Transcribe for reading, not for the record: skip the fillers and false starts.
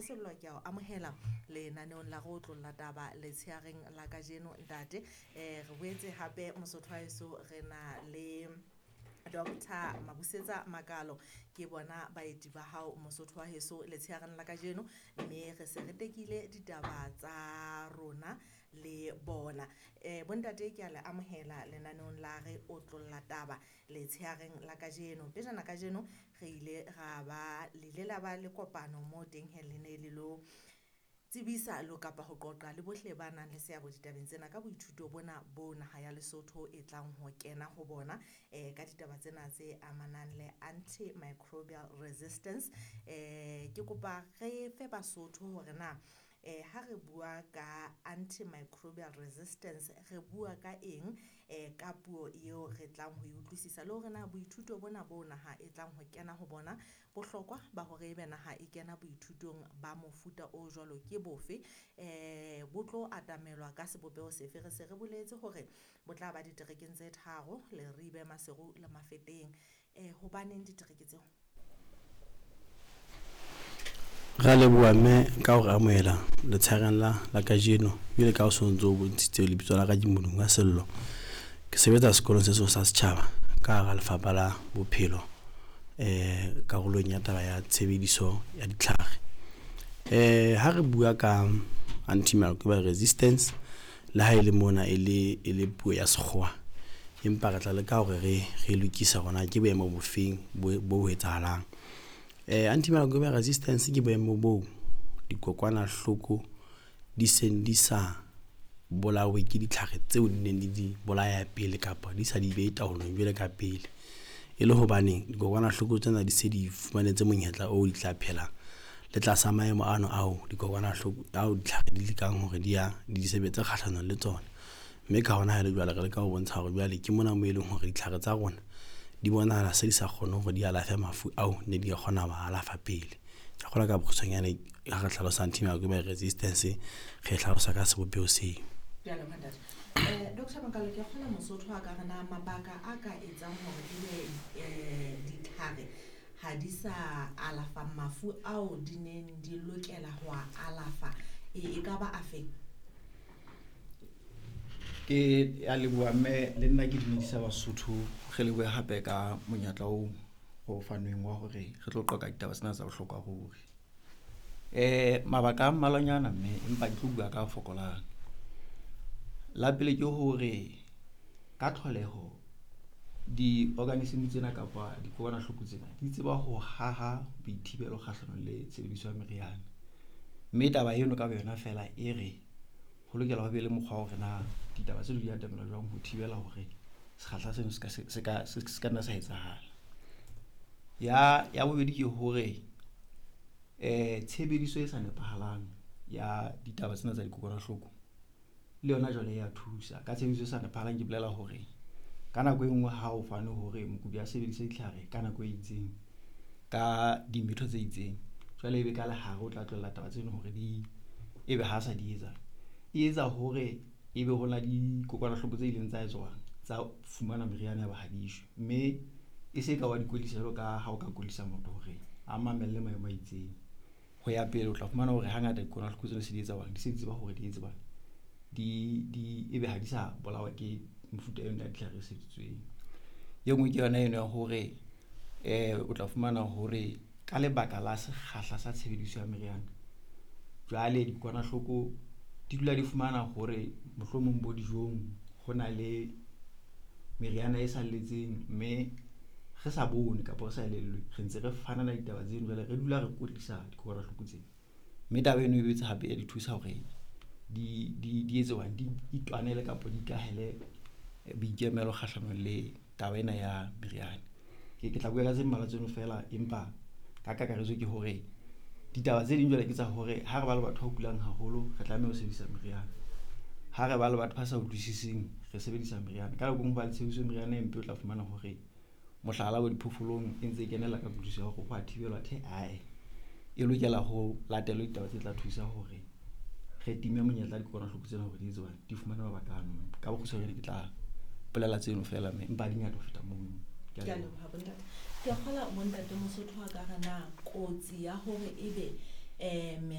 Sello, ke a o amohela lenaneong la re otlolla taba letsheareng la kajeno ntate. Re boetse hape Mosotho wa heso re na le Doctor Mabusetsa Makalo, ke bona baeti ba hao Mosotho wa heso letsheareng la kajeno, mme re se re tekile ditaba tsa rona le bona. Bontate ke a le amohela lenaneong la re otlolla taba letsheareng la kajeno. Pejana kajeno re ile ra ba, le ile la ba le kopano moo teng hee le ne le lo tsebisa lo kapa ho qoqa le bohle ba nang le seabo ditabeng tsena ka boithuto bona bo naha ya Lesotho e tlang ho kena ho bona ka ditaba tsena tse amanang le antimicrobial resistance. Ke kopa re fe Basotho hore na ha re bua ka antimicrobial resistance re bua ka eng, ka puo eo re tlang ho e utlwisisa, le hore na boithuto bona bo naha e tlang ho kena ho bona, bohlokwa ba hore ebe naha e kena boithutong ba mofuta o jwalo ke bofe, bo tlo atamelwa ka sebopeho sefe. Re se re boletse hore bo tla ba diterekeng tse tharo, Leribe, Maseru le Mafeteng. Hobaneng ditereke tseo? Ra leboha mme ka hore amohela letsheareng la kajeno. Jwale ka o sontso o bontshitse, lebitso la ka ke Modungwa Sello. Ke sebetsa sekolong se seng sa setjhaba ka hara lefapha la bophelo, karolong ya taba ya tshebediso ya ditlhare. Ha re bua ka antimicrobial resistance, le ha e le mona e le puo ya sekgowa, empa re tla leka hore re lokise hore na ke boemo bofeng bo etsahalang. Antimicrobial resistance ke boemo boo dikokwanahloko di seng di sa bolawe ke ditlhare tseo di neng di di bolaya pele, kapa di sa di behe taolong jwalo ka pele. E le hobaneng dikokwanahloko tsena di se di fumanetse monyetla oo di tla phela le tlasa maemo ano ao dikokwanahloko ao ditlhare di lekang hore di ya di sebetse kgahlanong le tsona. Mme ka hona ha le jwale re leka ho bontsha hore jwale ke mona moo e leng hore ditlhare tsa rona di bonahala se di sa kgone hore di alafe mafu ao ne di kgona ho alafa pele. Ke kgolwa ka bokgutshwanyane ha re hlalosa antimicrobial resistance, re hlalosa ka sebopeho seo. Ke a leboha ntate. Doctor Makalo, ke a kgolwa Mosotho a ka re na mabaka a ka etsang hore ebe ditlhare ha di sa alafa mafu ao di neng di lokela ho a alafa, e ka ba afeng? Ke a leboha mme, le nna ke dumedisa Basotho. Re lebohe hape ka monyetla oo o fanweng wa hore re tlo qoqa ditaba tsena tsa bohlokwa ruri. Mabaka a mmalwanyana mme, empa ke tlo bua ka a fokolang. La pele ke hore ka tlholeho di-organism tsena kapa dikokwanahloko tsena di tseba ho haha boithibelo kgahlanong le tshebediso ya meriana. Mme taba eno ka boyona feela e re ho lokela ho be le mokgwa wa hore na ditaba tseno di atamela jwang ho thibela hore sekgahla seno se ka nna sa etsahala. Ya bobedi ke hore tshebediso e sa nepahalang ya ditaba tsena tsa dikokwanahloko le yona jwale ya thusa. Ka tshebediso e sa nepahalang ke bolela hore ka nako e nngwe ha o fane hore mokudi a sebedise ditlhare ka nako e itseng, ka dimetho tse itseng, jwale ebe ka lehare o tla tlohella taba tseno hore di ebe ha sa di etsa, e etsa hore ebe hona dikokwanahloko tse ileng tsa etswang tsa fumana meriana ya ba ha di shwe. Mme e se ka wa di kwetlisa jwalo ka ha o ka kwetlisa motho hore a mamelle maemo a itseng. Ho ya pele o tla fumana hore hangata dikokwanahloko tsena se di etsa di se di tseba hore di etse di ebe ha di sa bolawa ke mefuta eno ya ditlhare e sebedisitsweng. E nngwe ke yona eno ya hore o tla fumana hore ka lebaka la sekgahla sa tshebediso ya meriana, jwale dikokwanahloko di dula di fumana hore mohlomong bo dijong ho na le meriana e salletseng, mme re sa bone kapa re sa elellwe, re ntse re fana ka ditaba tseno, jwale re dula re kwetlisa dikokwanahloko tsena. Mme taba eno e boetse hape ya di thusa hore di etse di itwanele kapa di ikahele boikemelo kgahlanong le taba ena ya meriana. Ke tla bua ka tse mmalwa tseno feela, empa ka kakaretso ke hore ditaba tse ding jwale ke tsa hore ha re ba le batho ba kulang haholo, re tlameha ho sebedisa meriana. Ha re ba le batho ba sa utlwisising, re sebedisa meriana. Ka nako e nngwe ho ba le tshebediso ya meriana e mpe, o tla fumana hore mohlala bo diphoofolong e ntse e kenella ka kutlwisiso ya hore ho a thibelwa, athe ae, e lokela ho latelwe ditaba tse tla thusa hore re time monyetla dikokwanahloko tsena hore di etse di fumane mabaka ano. Ka bokgutshwanyane ke tla bolela tseno feela mme, empa di ngata ho feta mono. Ke a leboha bontate. Ke a kgolwa bontate Mosotho a ka re na kotsi ya hore ebe